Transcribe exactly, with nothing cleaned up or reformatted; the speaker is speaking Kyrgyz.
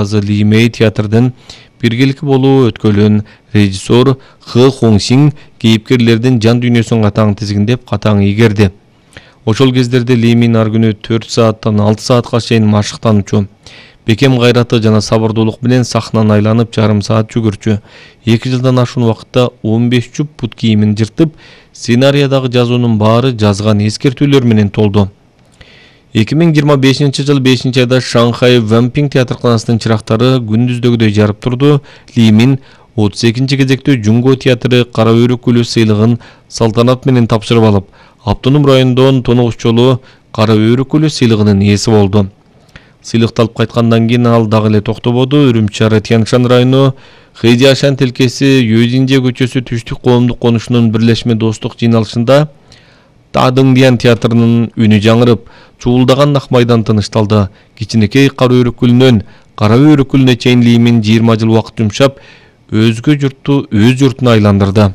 Ли Мэй театрдын биргеликте болуу өткөлүн режиссер Хы Хоңсиң кейипкерлердин жан дүйнөсүн катаң тизгиндеп, катаң ийгерди. Ошол кездерде Ли Мэй ар күнү төрт сааттан алты саатка чейин машыктанчу. Бекем кайраты жана сабырдуулук менен сахнаны айланып жарым саат жүгүрчү. эки жылдан ашуун убакытта он беш жуп бут кийимин жыртып, сценариядагы жазуунун баары жазган эскертүүлөр менен толду. эки миң жыйырма бешинчи жыл бешинчи айда Шанхай Вэнпинг театрканасынын чырактары күндүздөгүдөй жарып турду. Ли Мэй отуз экинчи кезекте Жунго театры Кара Өйрөк гүлү сыйлыгын салтанат менен тапшырып алып, автоном райондон тоногуч жолу Кара Өйрөк гүлү сыйлыгынын ээси болду. Сыйлыкты алып кайткандан кийин ал дагы эле токтободу. Үрүмчи Тяньшан району Хэдиашан тилкеси Юэжинже көчөсү түштүк коомдук конушунун бирлешме достук жыйналышында Тадыңдиян театрынын үнү жаңырып, чуулдаган ак майдан тынышталды. Кичинекей Кара Өйрөк гүлүнөн Кара Өйрөк гүлүнө чейин Ли Мэй жыйырма жыл убакыт жумшап, өзгө журтту өз журтуна айландырды.